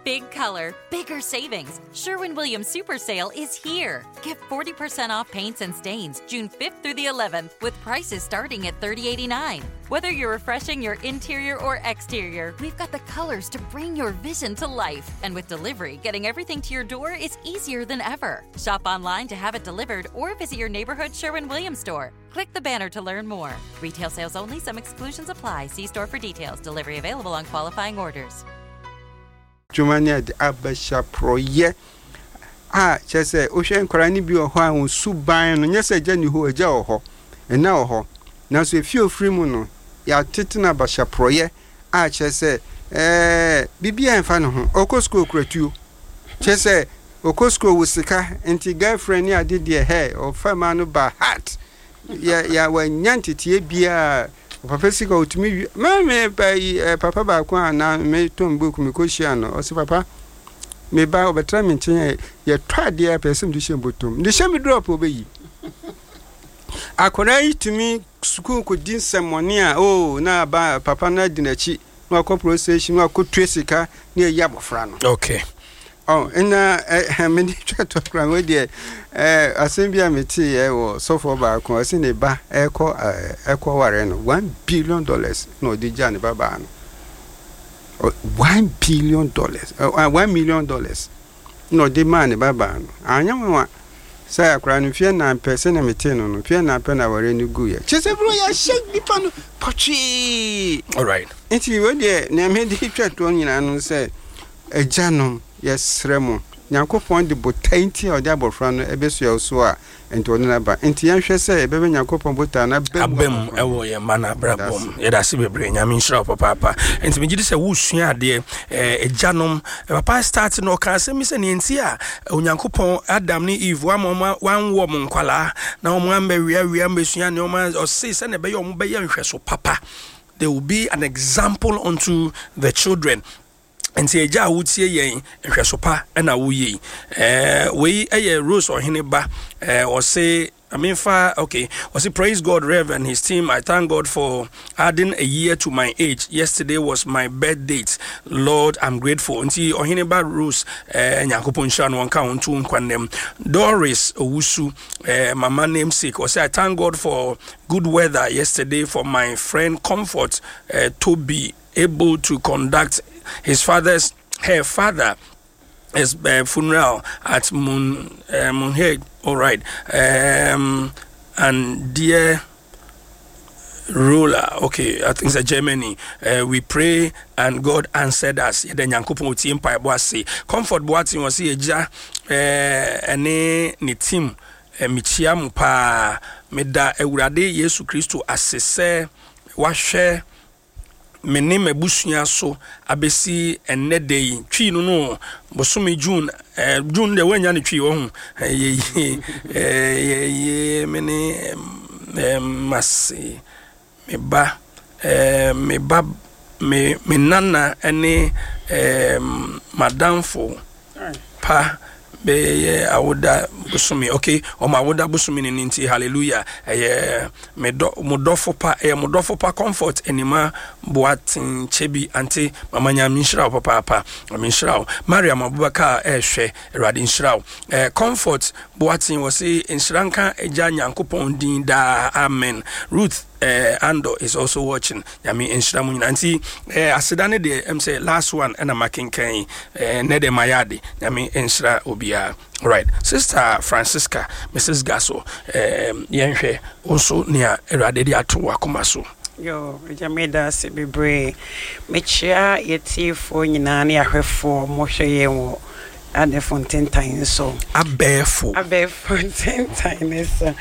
Big color, bigger savings. Sherwin Williams Super Sale is here. Get 40% off paints and stains June 5th through the 11th with prices starting at $30.89. Whether you're refreshing your interior or exterior, we've got the colors to bring your vision to life. And with delivery, getting everything to your door is easier than ever. Shop online to have it delivered or visit your neighborhood Sherwin Williams store. Click the banner to learn more. Retail sales only, some exclusions apply. See store for details. Delivery available on qualifying orders. Dwuma ne ade abɛhyɛ porɔeɛ a kyerɛ sɛ wohwɛ nkwadaa no bi wɔ hɔ a wɔn suban no nyɛ sɛ agya nni hɔ, agya wɔ hɔ, ɛna wɔ hɔ, nanso efie a ofiri mu no yɛatete no abahyɛ porɔeɛ a kyerɛ sɛ ɛɛ biribiara mfa ne ho, ɔkɔ sukuu okura tuo, kyerɛ sɛ ɔkɔ sukuu ɔwɔ sika nti girlfriend ne ade deɛ hɛ ɔfa mmaa no ba heart yɛ yɛ wanya nteteɛ biara. Papa sika otumi wi me me ba yi eh, papa baako a na me tɔn book me kɔ hyia no ɔsi papa me ba ɔbɛtra me nkyɛn yɛ yɛtɔ adeɛ pɛ sɛ mede hyɛ mbɔtɔm de hyɛ me drop ɔbɛyi akwadaa yi tumi sukuu kɔdi nsɛmmɔne a oh na ba papa no adi n'akyi na wakɔ police station na wakɔtua sika na ayi abɔfra no. Okay. Oh, na eh, mede twa to kora wei deɛ eh, asɛm bi a meteeɛ wɔ sɔfoɔ baako ɔse ne ba ɛkɔ ɛkɔ ware no $1 billion na ɔde gya ne ba baa no $1 billion, $1 million na ɔde maa ne ba baa no. Anyɛ nwanwa sɛ akwadaa no mfeɛ 4 pɛ, sɛnea metee no, mfeɛ 4 pɛ na aware no guiɛ. Kyerɛ sɛ bro yɛahyɛ nipa no pɔtwee. Nti wei deɛ nea mede twa toɔ nyinaa no sɛ agyanom yɛsrɛ mo, Nyankopɔn de botae nti a ɔde abɔfra no ɛbɛsua wo so a nti ɔde no aba. Nti yɛnhwɛ sɛ yɛbɛbɛ Nyankopɔn botae no aba mu aba mu ɛwɔ yɛn mma no abrabɔ mu. Yɛda ase bebree, Nyame nhyira wo papaapa. Nti megye di sɛ wosua adeɛ. Agyanom, papa start no ɔka asɛm bi sɛ neɛ nti a Onyankopɔn Adam ne Eve wama ɔma wanwɔ mo nkwalaa na ɔmo ambɛweawea mbɛsua nneɛma, ɔse sɛnea ɛbɛyɛ ɔmo bɛyɛ nhwɛso papa, they will be an example unto the children. Nti agya a wotie yɛn, nhwɛso pa na woyɛ yi. Wei ɛyɛ Rose Ɔhene ba. Ɔse Amenfa, okay. Ɔse, "Praise God, Rev and his team. I thank God for adding a year to my age. Yesterday was my birth date. Lord, I'm grateful." Nti Ɔhene ba Rose, Nyankopɔn nhyira no wɔnka ho nto nkwa nnam. Doris Owusu, mama namesake. Ɔse, "I thank God for good weather yesterday for my friend Comfort to be able to conduct his father's her father his funeral at Moonhead." All right. And dear ruler, okay, I think it's a Germany. "We pray and God answered us." Yɛda Nyankopɔn otie mpaebɔ ase. Comfort Boateng wɔ agya ɛne ne team, mekyia mo paa. Meda Awurade Yesu Kristo ase sɛ wahwɛ me ne m'abusua so abɛsi ɛnnɛ da yi. Twii no bosome June, June deɛ woanya ne twii wɔ ho yɛyie yɛyie me ne mase me ba me ba me nana ne madamfo pa bɛyɛ awoda bosome. Okay, ɔmo awoda bosome ne nti hallelujah. Ɛyɛ me dɔ mo dɔfo pa, ɛyɛ mo dɔfo pa Comfort Anima Boaten Kyɛbi. Ante mama, Nyame nhyira wo papaapa, Nyame nhyira wo. Mariam Abubakar ɛɛhwɛ, Awurade nhyira wo. Comfort Boaten wɔ se nhyira nka Agya Nyankopɔn din daa, amen. Ruth Ando is also watching. Nyame nhyira mu nyinaa. Nti aseda ne deɛ sɛ last one ɛna makenkan nɛ deɛ mayɛ ade. Nyame nhyira obiara. Right, Sister Francisca, Mrs Gaso, yɛnhwɛ wo nso nea Awurade de ato w'akoma so. Yo, agya, meda ase bebree. Mekyia yɛtiefoɔ nyinaa ne ahwɛfoɔ mohwɛ yɛn wɔ adɛfo ntentan so. Abɛɛfo. Abɛɛfo ntentan ne so.